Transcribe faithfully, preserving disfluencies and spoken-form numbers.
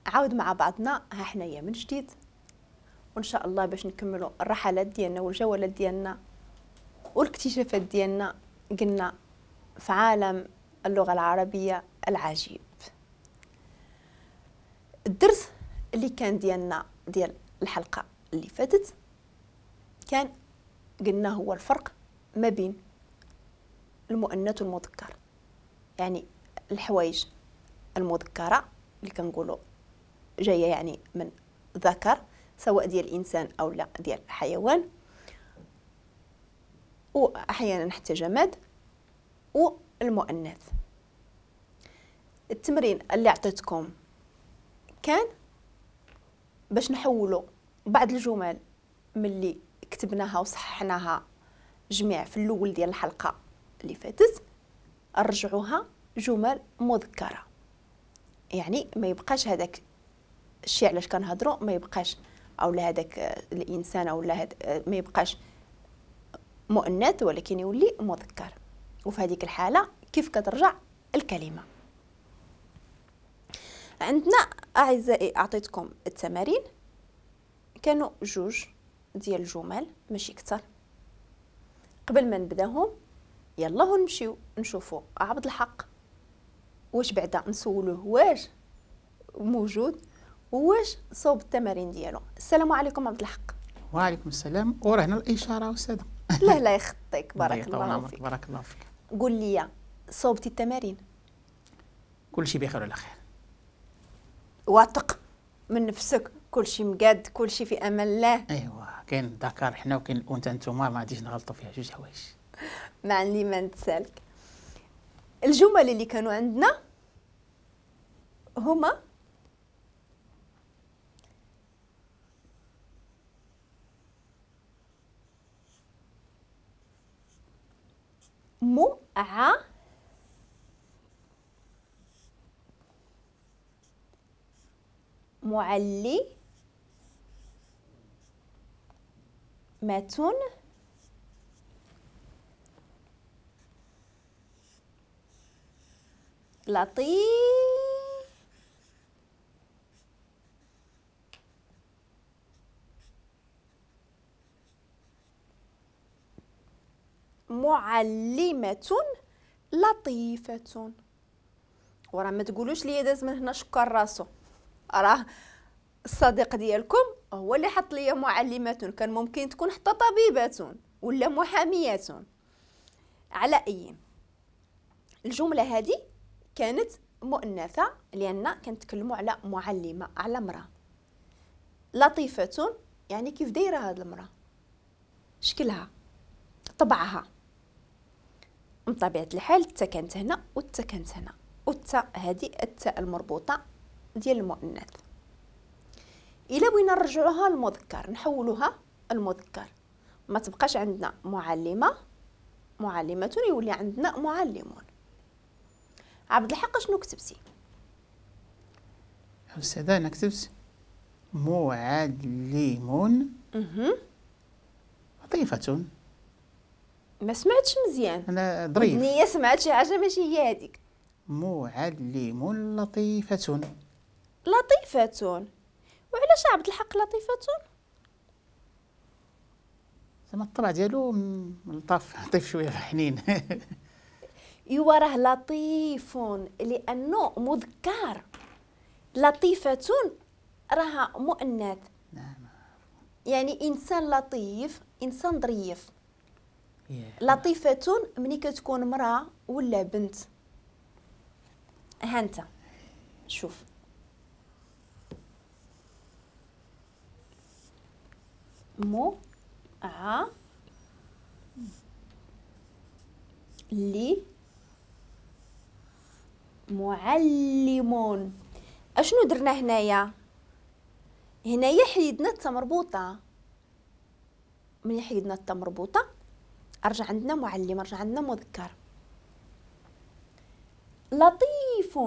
عاود مع بعضنا ها حنايا من جديد، وان شاء الله باش نكملوا الرحلات ديالنا والجولات ديالنا والاكتشافات ديالنا قلنا في عالم اللغة العربية العجيب. الدرس اللي كان ديالنا ديال الحلقة اللي فاتت كان قلنا هو الفرق ما بين المؤنث والمذكر، يعني الحوايج المذكرة اللي كنقولوا جاية يعني من ذكر سواء ديال الإنسان أو لا ديال الحيوان، وأحيانا حتى جماد، والمؤنث. التمرين اللي عطيتكم كان باش نحولوا بعض الجمل من اللي كتبناها وصححناها جميع في الأول ديال الحلقة اللي فاتت رجعوها جمل مذكرة، يعني ما يبقاش هذاك الشيء علاش كنهضروا ما يبقاش او لا هذاك الانسان او لا هاد ما يبقاش مؤنث ولكن يولي مذكر. وفي هذيك الحالة كيف كترجع الكلمة؟ عندنا اعزائي اعطيتكم التمارين، كانوا جوج ديال الجمل ماشي اكثر. قبل ما نبداهم يلا نمشيو نشوفوا عبد الحق واش بعدا نسولوه واش موجود واش صوب التمارين ديالو. السلام عليكم عبد الحق. وعليكم السلام. وراه هنا الاشارة استاذه. لا لا يخطيك، بارك الله فيك. بارك الله فيك. قول لي صوبتي التمارين؟ كل شيء بخير وعلى خير. واثق من نفسك؟ كل شيء مقاد، كل شيء في امان الله. ايوا كاين الذكر حنا وكاين الانثى، نتوما ما غاديش نغلطوا فيها جوج حوايج. ما عندي ما نتسالك. الجمل اللي كانوا عندنا هما مع معلمة لطيف معلمة لطيفة. وراه ما تقولوش لي داز من هنا شكر راسو، راه الصديق ديالكم هو اللي حط لي معلمة، كان ممكن تكون حتى طبيبة ولا محامية. على أي الجملة هذه كانت مؤنثة لأن كنتكلموا على معلمة، على امرأة. لطيفة يعني كيف دايرة هذه المرأة، شكلها، طبعها. من طبيعة الحال التا كانت هنا والتا كانت هنا، والتا هذه التاء المربوطة ديال المؤنث. إلا بغينا نرجعوها للمذكر نحولوها المذكر، ما تبقاش عندنا معلمة معلمة، يولي عندنا معلمون. عبد الحق شنو كتبتي؟ أستاذة أنا كتبت معلم لطيفة. ما سمعتش مزيان. أنا ظريف. النية سمعت شي حاجة ماشي هي هذيك. معلم لطيفة. لطيفة. وعلاش عبد الحق لطيفة؟ زعما الطبع ديالو لطاف، لطيف شوية حنين. ايوا راه لطيف لأنه مذكر، لطيفة راها مؤنث. نعم. يعني إنسان لطيف، إنسان ظريف. لطيفة ملي كتكون امرأة ولا بنت. ها انت شوف، مو ع لي معلمون. اشنو درنا هنايا؟ هنايا حيدنا التا مربوطة. ملي حيدنا التا مربوطة رجع عندنا معلم، رجع عندنا مذكر. لطيف